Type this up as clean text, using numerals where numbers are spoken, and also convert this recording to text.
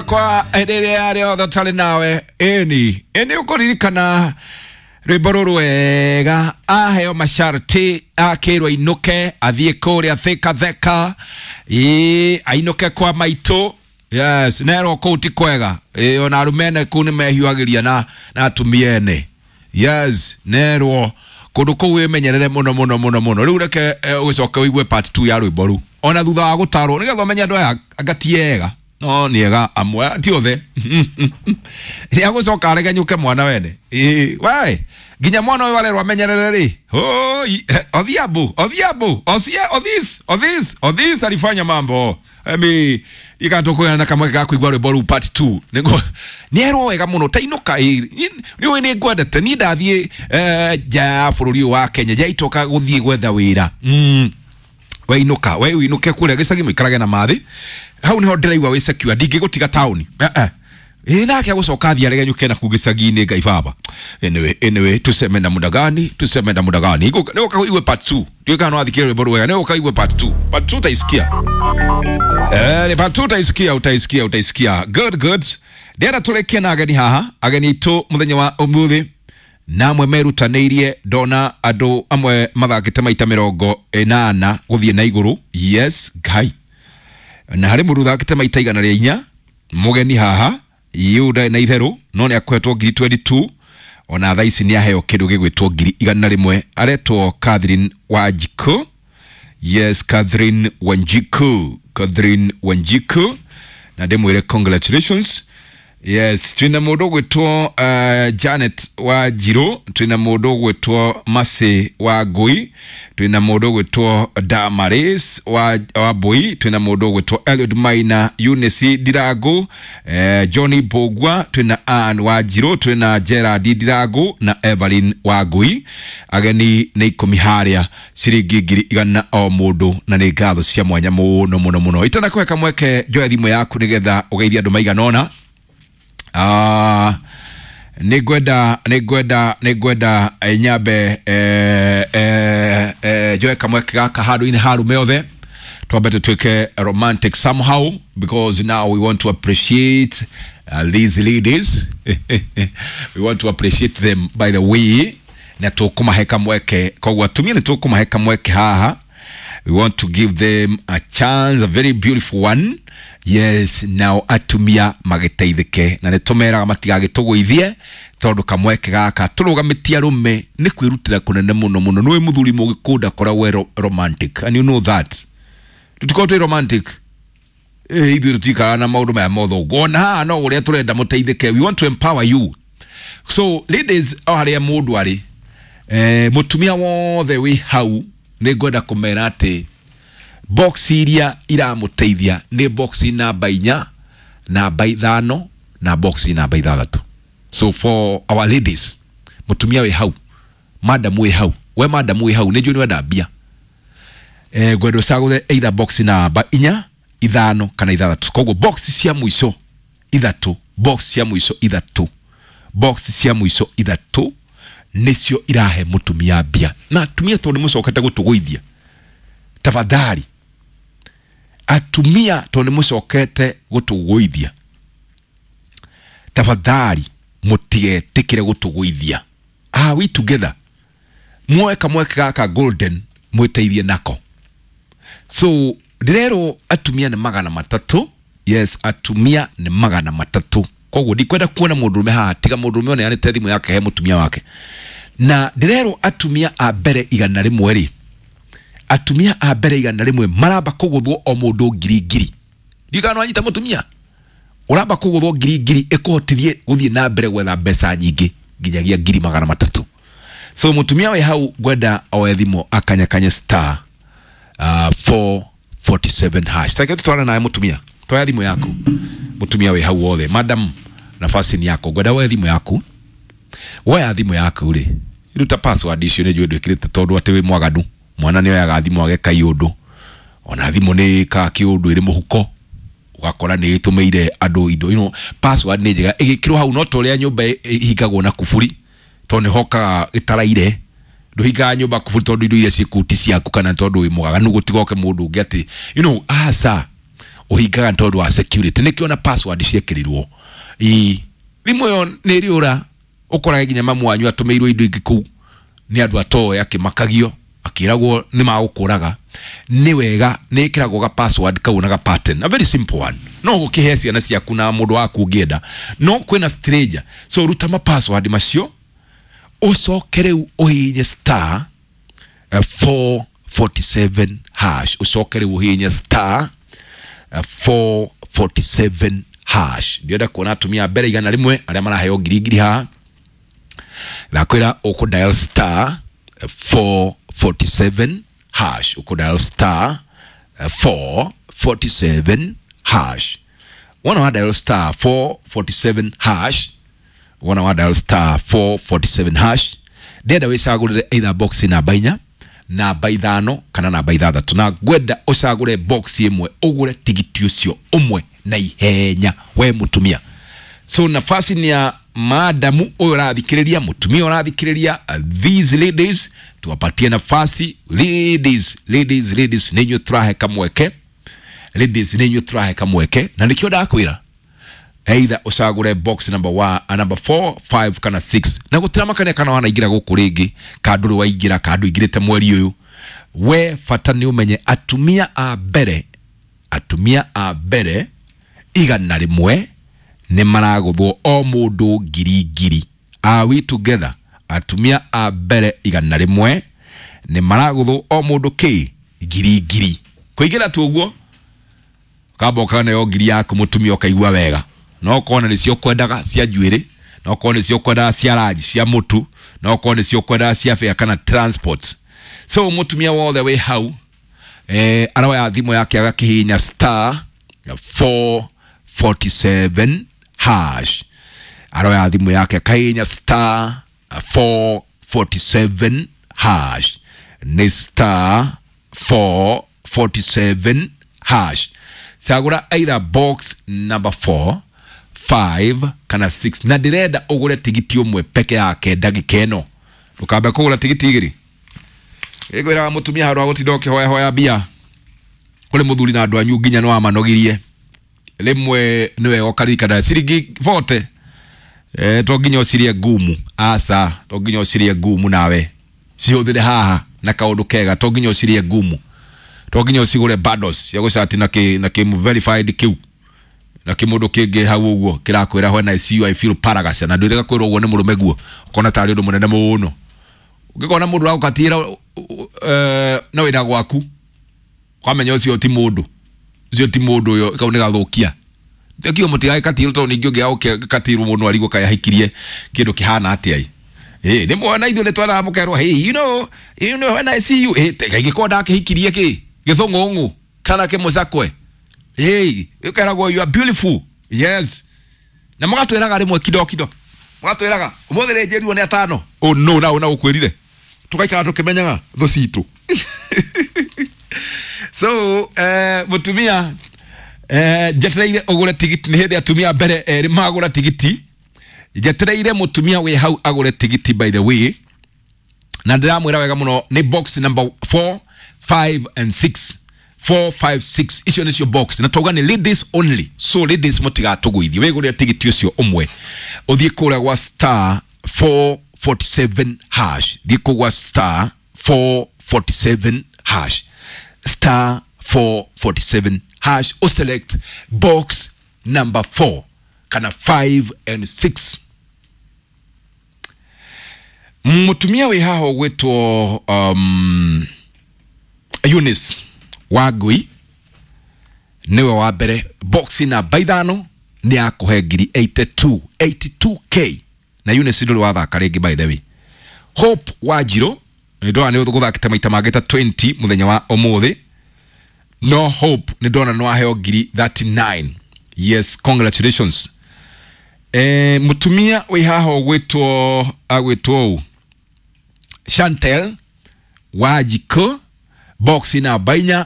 Kwa rĩrĩa rĩothe ũtarĩ nawe ĩni ĩni ũkũririkana rwĩmbo rũrũ wega aheo masharti akĩrwo ainũke athiĩ kũrĩa Thika Theka ĩĩ ainũke kwa maitũ. Yes, nerwo kũu ti kwega. Ĩĩ ona arũme ene kũu nĩmehiũhagĩria na atumia ene. Yes, nerwo kũndũ kũu wĩmenyerere mũno mũno mũno mũno. Rĩu reke ũgĩcoke ũigue part 2 ya rwĩmbo rũu ona thutha wa gũtarwo nĩgetha ũmenye andũ aya anga ti ega no nĩ ega amwe ti othe. Nĩ agũcoka aregenyũke mwana wene. Ĩĩ we nginya mwana ũyũ arerwo amenyerere rĩ. Hoi Odhiambo Odhiambo Osie Odhis Odhis Odhis alifanya mambo. Emi ikatũkũyana na kamweke ga kũigua rwĩmbo rũu part 2 nĩguo nĩerwo wega mũno tainũka. Nĩ ũĩ nĩ ngwendete niĩ ndathiĩ nja ya bũrũri ũyũ wa Kenya njaitoka gũthiĩ gwetha wĩra. Weinũka we ũinũke kũrĩa gĩcagi mũikarage na mathĩ hau nĩho ndĩraigua wĩ secure ndingĩgũtiga taũni. Ĩ nake agũcoka athiĩ aregenyũke na kuu gĩcagi-inĩ. Ngai baba. Anyway, tuseme na muda gani, tuseme na muda gani. Nĩgũka ũigue part 2. Ndiũĩ kana no wathikĩrĩria rwĩmbo rũu wega. Nĩgũka ũigue part 2. Part 2 utaisikia. Part 2 utaisikia, utaisikia, utaisikia. Good, good. Ndĩrenda tũrĩkie na ageni haha ageni aitũ mũthenya wa ũmũthĩ namwe merutanĩirie ndona andũ amwe mathakĩte maita 80 gũthiĩ na igũrũ. Yes, Ngai. Na harĩ mũndũ ũthakĩte maita 104 mũgeni haha yũ ndarĩ na itherũ no nĩ akoretwo ngiri 22 ona thaa ici nĩ aheo kĩndũ gĩgwĩtwo ngiri 100. Aretwo Catherine Wanjiku. Yes, Catherine Wanjiku, Catherine Wanjiku, na ndĩmwĩre congratulations. Yes, twina mũndũ ũgwĩtwo Janet wa Njirũ, twina mũndũ ũgwĩtwo Mercy wa Ngui, twina mũndũ ũgwĩtwo Damaris wa Mbui, twina mũndũ ũgwĩtwo Eliud Maina, Eunice Ndirangu, Johnny Mbũgua, twina Ann wa Njirũ, twina Gerard Ndirangu na Evelyn wa Ngui. Ageni nĩ 10 harĩa ciringi ngiri 100 o mũndũ na nĩ ngatho cia mwanya mũno mũno mũno. Itanakũhe kamweke njoe thimũ yaku nĩgetha ũgeithie andũ maigana ũna. Nĩ ngwenda nyambe njoe kamweke gaka handũ-inĩ ha arũme othe twambe tũtuĩke romantic somehow because now we want to appreciate these ladies. We want to appreciate them by the way na tũkũmahe kamweke koguo atumia nĩ tũkũmahe kamweke haha. We want to give them a chance, a very beautiful one. Yes, now atumia magĩteithĩke na nĩ tũmeraga matigagĩtũgũithie tondũ kamweke gaka tũrũgamĩtie arũme nĩ kwĩrutĩra kũnene mũno mũno. Nĩũĩ mũthuri mũgĩkũyũ ndakoragwo e romantic and you know that tũtikoragwo twĩ romantic. Ithuĩ tũtikaraga na maũndũ maya mothe ũguo ona haha no ũrĩa tũrenda mũteithĩke. We want to empower you, so ladies, o harĩa mũndũ arĩ mũtumia wothe wĩ hau nĩ ngwenda kũmera atĩ box iria iramũteithia nĩ box namba 4, namba 5 na box namba 6. So for our ladies, mũtumia wĩ hau, madam wĩ hau, we madam wĩ hau nĩ njũĩ nĩ wenda mbia, ngwenda ũcagũre either box namba 4, 5 kana 6. Koguo box cia mũico ithatũ, box cia mũico ithatũ, box cia mũico ithatũ nĩcio irahe mũtumia mbia. Na atumia tondũ nĩ mũcokete gũtũgũithia, tafadhali atumia tondũ nĩ mũcokete gũtũgũithia, tafadhali mũtigetĩkĩre gũtũgũithia. Are we together? Muoe kamweke gaka golden mwĩteithie nako. So ndĩrerwo atumia nĩ 300. Yes, atumia nĩ 300. Koguo ndikwenda kuona mũndũrũme haha tiga mũndũrũme ũneanĩte thimũ yake he mũtumia wake. Na ndĩrerwo atumia a mbere 100 rĩ, atumia a mbere 100 maramba kũgũthwo o mũndũ ngiri ngiri. Ndiũĩ kana nĩwanyita mũtumia ũramba kũgũthwo ngiri ngiri ĩkũhotithie gũthiĩ na mbere gwetha mbeca nyingĩ nginyagia ngiri 300. So mũtumia wĩ hau ngwenda oe thimũ akanyakanye star 447 hash. Take tutwara naye mũtumia, toya thimũ yaku mũtumia wĩ hau wothe. Madam, nafasi ni yako, ngwenda woe thimũ yaku. Woya thimũ yaku rĩ, ruta password icio nĩ njũĩ ndwĩkĩrĩte tondũ atĩ wĩ mwaganu. Mwana nĩ oyaga thimũ ageka iũndũ, ona thimũ nĩ ĩkaga kĩũndũ ĩrĩ mũhuko ũgakora nĩ ĩtũmĩire andũ indo. Password nĩ njega ĩgĩkĩrwo hau no ta ũrĩa nyũmba ĩhingagwo na kuburi tondũ nĩ hokaga ĩtaraire. Ndũhingaga nyũmba kuburi tondũ indo iria ciĩ kũu ti ciaku kana tondũ wĩ mwaganu gũtigoke mũndũ ũngĩ atĩ aca. Ũhingaga nĩ tondũ wa security, nĩkĩo na password ciĩkĩrirwo. Ii thimũ ĩyo nĩ ĩrĩũra, ũkorage nginya mamu wanyu atũmĩirwo indo ingĩ kũu nĩ andũ atoĩ, akĩmakagio akĩragwo nĩ magũkũraga. Nĩ wega nĩ ĩkĩragwo ga password kau na ga pattern, a very simple one, no gũkĩhe ciana ciaku na mũndũ waku ũngĩenda, no kwĩna stranger. So ruta ma password macio, ũcoke rĩu ũhihinye star 447 hash. Ũcoke rĩu ũhihinye star 447 hash. Ndĩrenda kuona atumia a mbere 100 arĩa maraheo ngiri ngiri haha. Ndakwĩra ũkũ dial star 447 hash, ũkũ dial star 447 hash. Wona wa dial star 447 hash, wona wa dial star 447 hash, ndĩrenda wĩcagũrĩre either box namba 4, namba 5 kana namba 6, na ngwenda ũcagũre box ĩmwe ũgũre tigiti ũcio ũmwe na ihenya, we mũtumia. So nafasi ni ya madamu ũyũ ũrathikĩrĩria, mũtumia ũrathikĩrĩria. These ladies tuwapatie nafasi. Ladies, ladies, ladies, nĩ inyuĩ tũrahe kamweke. Ladies, nĩ inyuĩ tũrahe kamweke, na nĩkĩo ndakwĩra either ũcagũre box number 1, number 4, 5 kana 6, na gũtiramakania kana wanaingĩra gũkũ rĩngĩ, kana ndũrĩ waingĩra, kana ndũingĩrĩte mweri ũyũ. We bata nĩ ũmenye atumia a mbere, atumia a mbere 100 nĩ maragũthwo o mũndũ ngiri ngiri. Are we together? Atumia a mbere 100 nĩ maragũthwo o mũndũ kĩ ngiri ngiri. Kũingĩra tu ũguo kamba ũkaneo ngiri yaku mũtumia, ũkaigua wega. No korwo nĩcio kwendaga cia njuĩrĩ, no korwo nĩcio kwendaga cia ranji, cia mũtu, no korwo nĩcio kwendaga cia fare kana transport. So mũtumia wothe wĩ hau aroya thimũ yake agakĩhihinya star 447 hash. Aroya thimũ yake akahihinya star 447 hash, nĩ star 447 hash. Cagũra either box number 4, 5 kana 6, na ndĩrenda ũgũre tigiti ũmwe peke yake ndagĩka ĩno. Ndũkambe kũgũra tigiti igĩrĩ. Ĩkwĩraga mũtumia handũ ha gũtinda ũkĩhoya hoya mbia kũrĩ mũthuri na andũ anyu nginya nĩ wamanogirie, rĩmwe nĩ wega ũkaririkana ciringi 40, to nginya ũcirie ngumu, aca, to nginya ũcirie ngumu, nawe cihũthĩre haha na kaũndũ kega. To nginya ũcirie ngumu, to nginya ũcigũre bundles cia gũcati na kĩ na kĩ verified kĩu na kĩmũndũ kĩngĩ hau ũguo kĩrakwĩra, "When I see you I feel paragasha." Na ndwĩrĩga kwĩrwo ũguo nĩ mũrũme guo, ũkona tarĩ ũndũ mũnene mũno. Ũngĩkona mũndũ ũragũkatĩra na wĩra gwaku, kwamenya ũcio ti mũndũ, ũcio ti mũndũ, ũyũ kau nĩ gathũkia. Ndĩkio mũtigagĩkatirwo, tondũ ningĩ ũngĩgagũkatirwo mũndũ arigwo kaĩ ahikirie kĩndũ kĩhana atĩa. Ĩ nĩ mwana ithuĩ nĩ twaraga mũkerwo, "Hey, you know when I see you." Ĩ kaingĩkorwo ndakĩhikirie kĩ gĩthũng'ũng'ũ kana kĩmũcakwe. Hey, ũkeragwo, "You are beautiful." Yes, na mũgatwĩraga rĩmwe kido kido, mũgatwĩraga ũmũthĩ rĩ njĩrirwo nĩ atano. Oh no, na ũna ũkwĩrire tũgaikara tũkĩmenyaga thũ citũ. So mũtumia, njetereire ũgũre tigiti. Nĩ hĩndĩ atumia mbere erĩ magũra tigiti. Njetereire mũtumia wĩ hau agũre tigiti. By the way, na ndĩramwĩra wega mũno, nĩ box number 4, 5 and 6. 4, 5, 6, icio nĩcio box, na twauga nĩ ladies only. So ladies, mũtigatũgũithie, wĩgũrĩre tigiti ũcio ũmwe, ũthiĩ kũrĩa gwa star 447 hash. Thiĩ kũu gwa star 447 hash, star 447 hash, uselect box number 4 kana 5 and 6. Mũtumia wĩ haha ũgwĩtwo Eunice Wangui nĩwe wa mbere, box namba 5 nĩ akũhe ngiri 82, 82K. Na Eunice ndũrĩ wathaka rĩngĩ. By the way, Hope Wanjirũ nĩ ndona nĩ ũgũthakĩte maita mangĩ ta 20 mũthenya wa ũmũthĩ, no Hope nĩ ndona nĩ waheo ngiri 39. Yes, congratulations. Mũtumia wĩ haha ũgwĩtwo, agwĩtwo ũ, Chantel Wanjikũ, box namba 4.